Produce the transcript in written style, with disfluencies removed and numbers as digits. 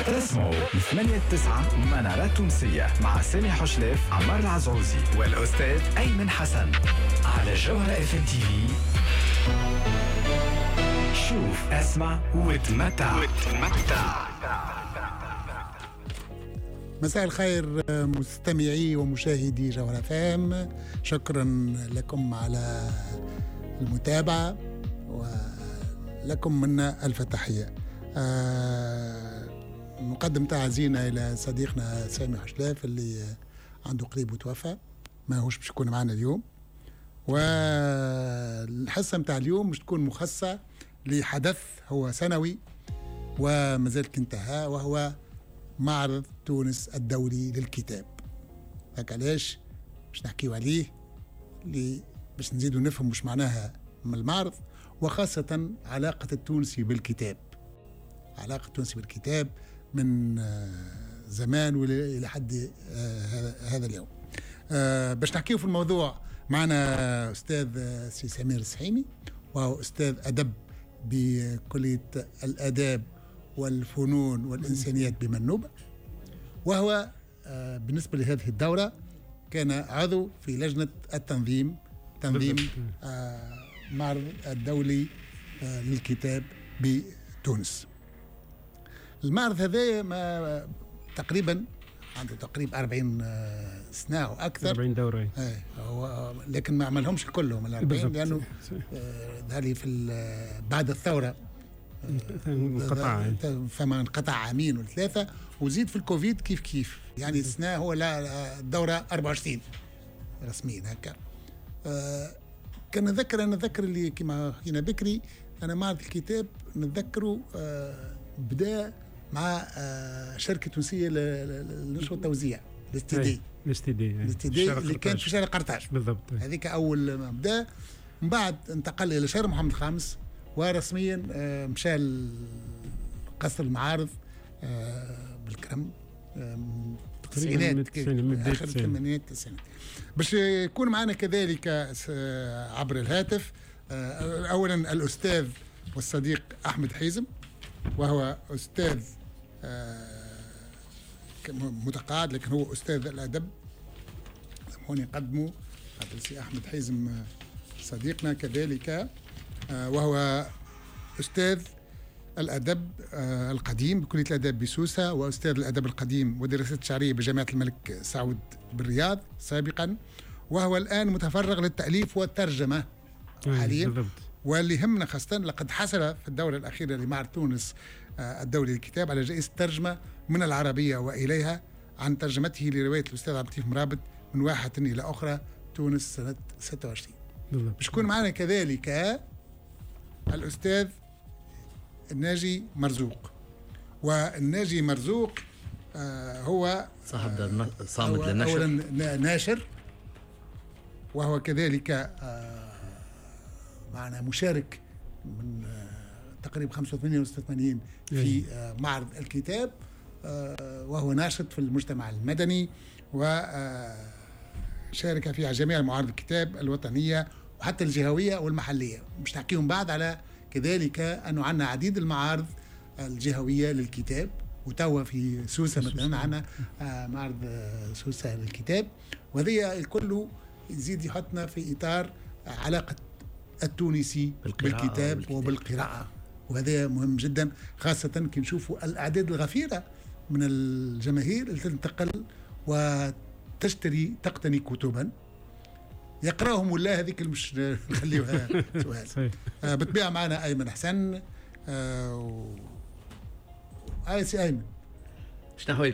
تسمعوا من 8 9 منارات تونسية مع سامي حشلاف، عمار العزعوزي والأستاذ أيمن حسن على جوهرة FM TV. شوف، اسمع وتمتع وتمتع. مساء الخير مستمعي ومشاهدي جوهرة FM، شكرا لكم على المتابعة ولكم منا ألف تحية. نقدم تعازينا إلى صديقنا سامي حشلاف اللي عنده قريب وتوفى، ما هوش باش يكون معنا اليوم. والحصة متاع اليوم مش تكون مخصصة لحدث هو سنوي ومازال انتهى، وهو معرض تونس الدولي للكتاب. هاك علاش باش نحكيو عليه، باش نزيدو نفهم مش معناها من المعرض، وخاصة علاقة التونسي بالكتاب. علاقة التونسي بالكتاب من زمان إلى حد هذا اليوم. باش نحكيو في الموضوع معنا أستاذ سي سمير السحيمي، وهو أستاذ أدب بكلية الآداب والفنون والإنسانيات بمنوبة، وهو بالنسبة لهذه الدورة كان عضو في لجنة التنظيم، تنظيم معرض الدولي للكتاب بتونس. المعرض هذا ما تقريبا عنده تقريبا 40 سنة أو أكثر، 40 دورة. هو لكن ما عملهمش كلهم ال 40، لأنه ذلك في بعد الثورة انقطع، فما انقطع عامين ولا ثلاثة، وزيد في الكوفيد كيف كيف، يعني السنة هو لا الدورة 24 رسميا هكا. كان نذكر، أنا نذكر اللي كما حكينا بكري، أنا معرض الكتاب نتذكره بدأ مع شركة تونسية للنشر والتوزيع، الاستدي، الاستدي اللي كانت في شارع قرطاج بالضبط، هذيك أول ما بدأ. من بعد انتقل إلى شارع محمد الخامس، ورسميا مشى قصر المعارض بالكرم التسعينات، آخر الثمانينات التسعينات. باش يكون معنا كذلك عبر الهاتف أولا الأستاذ والصديق أحمد حيزم، وهو أستاذ متقاعد لكن هو أستاذ الأدب. سامحوني نقدمه، سي أحمد حيزم صديقنا كذلك، وهو أستاذ الأدب القديم بكلية الأداب بسوسة، وأستاذ الأدب القديم والدراسات الشعرية بجامعة الملك سعود بالرياض سابقا، وهو الآن متفرغ للتأليف والترجمة حاليا. واللي يهمنا خاصة لقد حصل في الدورة الأخيرة لمعرض تونس الدولي للكتاب على جائزة ترجمة من العربية وإليها عن ترجمته لرواية الأستاذ عبد اللطيف مرابط من واحة إلى أخرى، تونس سنة 26. باش يكون معنا كذلك الأستاذ الناجي مرزوق. والناجي مرزوق هو صاحب دار صامد للنشر، أولا ناشر، وهو كذلك معنا مشارك من تقريبا 85 و 86 في معرض الكتاب، وهو ناشط في المجتمع المدني، وشارك في جميع معارض الكتاب الوطنية وحتى الجهوية والمحلية. مش نحكيهم بعد على كذلك أنه عندنا عديد المعارض الجهوية للكتاب، وتوا في سوسة مثلا عندنا معرض سوسة للكتاب، وهذه الكل يزيد يحطنا في إطار علاقة التونسي بالكتاب وبالقراءة، وهذا مهم جدا، خاصة كي نشوفوا الأعداد الغفيرة من الجماهير اللي تنتقل وتشتري تقتني كتبا يقراهم ولا هذيك مش نخليوها سؤال. بالطبيعة معنا أيمن حسن. سي أيمن، شنو أحوالكم؟